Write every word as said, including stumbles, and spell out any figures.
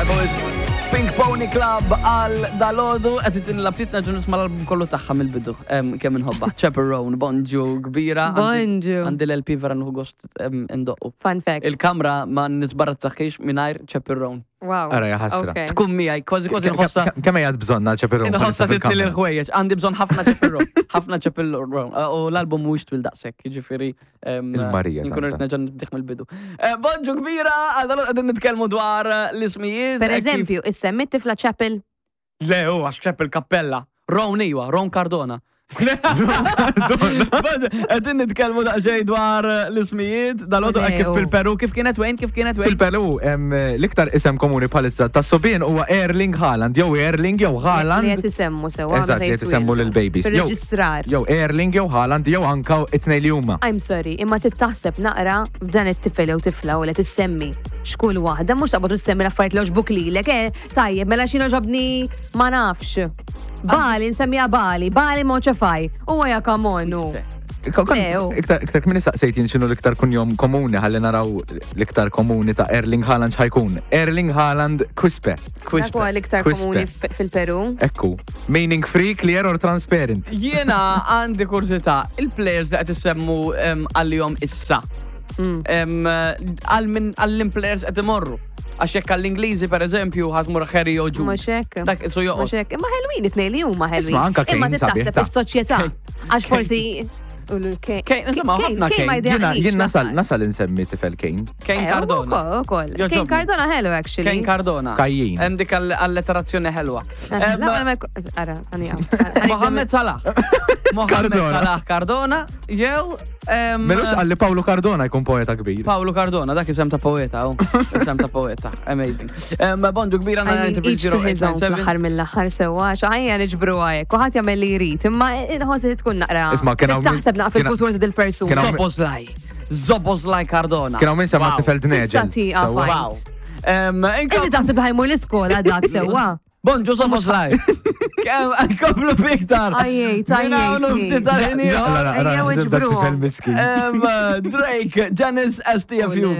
Tajba wisq. Pink Pony Club għal dalgħodu, qed itin l-aptit nerġa' nisma' l-album kollu tagħha mill-bidu. Em, Kemm inħobbha. Chappell Roan, bonġu kbira. Għandi- Bonġu. Għandi l-L P, vera nieħu gost em, indoqqu. Fun fact. Il-kamra ma nisbarazzaħiex mingħajr Chappell Roan. Wow. Ara, ja ħasra. Okay. Tkun miegħi, kważi kważi nħossha. Kemm hija bżonna Chappell Roan? Inħossa titni l-ħwejjeġ. Għandi bżonn ħafna Chappell Roan. Ħafna Chappell Roan. U l-album mhuwiex twil daqshekk, jiġifieri em, Il-Marija Nkun Santa. rrid nerġa' nibdih mill-bidu. Eh, Bonġu kbira, għal dalgħodu qegħdin nitkellmu dwar eh, l-ismijiet. Per eh, kif- eżempju, issemmi tifla Chapel. Le, u għax Chapel Cappella. Ron iwa, Ron Cardona. Qegħdin nitkellmu daqsxejn dwar eh, l-ismijiet, dalgħodu Le, kif u. fil-Peru, kif kienet Wayne, kif kienet Wayne? Fil-Peru, em, l-iktar isem komuni bħalissa ta' subien huwa Erling Haaland, jew Erling jew Li Haaland. qed isemmu sewa. Eżatt, li qed isemmu lill-babies. Jew- Fil-reġistrar. Jew Erling jew Haaland jew anka it-tnejn li huma. I'm sorry, imma tittaħseb naqra f'dan it-tifel jew tifla u li tissemmi xkull waħda, mhux taqbad tissemmi l-affarijiet li għoġbuk lilek, eh, tajjeb, mela xi ġobni ma nafx. Bali, nsemmija Bali, Bali Moċefaj. U għaja, come on, u. Leo. Iktar iktar kmin saqsejt jien x'inhu l-iktar kunjom komuni, ħalli naraw l-iktar komuni ta' Erling Haaland x'ħajkun. Erling Haaland Quispe. Dak huwa l-iktar Quispe. komuni f- fil-Peru. Ekku. Meaning free, clear or transparent. Jiena għandi kurżità, il-players li qed issemmu em, għal-jom issa. Mm. Em, Għal min għall-players qed imorru. Għax jekk għall-Ingliżi, per eżempju, ħa tmur Harry jew Jude. Mhux hekk. Dak isu Mhux joqgħod. hekk. Imma ħelwin it-tnejn li huma ħelwin. Isma' anka Imma Kane sabiħ tittaħseb ta' fis-soċjetà. Għax forsi Kane, insomma, ħafna Kane ma Kane. Jiena jdejqnix jien nasal lanqas. nasal insemmi tifel Kane. Kane Eh, Cardona. Ukoll, ukoll. Joġobni. Kane Cardona ħelu, actually. Kane Cardona. Kajjin. Hemm dik alliterazzjoni ħelwa. Eh, Em, la, ma jkun- Ara, għani għaw. Mohamed Salah. Mohamed Cardona. Salah Cardona jew em, Melux għalli Paolo Cardona jkun poeta kbir. Paolo Cardona, dak isem ta' poeta, oh. Isem ta' poeta. Amazing. Em, Bonġu kbira. I mean, each to his own fl-aħħar mill-aħħar sewa, xaħja niġbru għajek, u ħadd jagħmel li jrid, imma inħoss li tkun naqra. Isma' kien hawn min- Taħseb naqra kien- fil-futur ta' dil-persuna. kien hawn- Szoboszlai. Szoboszlai Cardona. Kien hawn min semma Wow. tifel Dneġel. Tista' tieqa Sewwa. fajn. Wow. Em, inkom- Inti taħseb ħa jmur l-iskola dak sewa. Bonġu Szoboszlai. Kemm nkomplu fiktar. Ajjejt, ajjejt, Ftit tal-ħin ieħor. Ara, ara, Ejjew ħsib dak iġbruhom. tifel miskin. Em, Drake, Janice S T F U.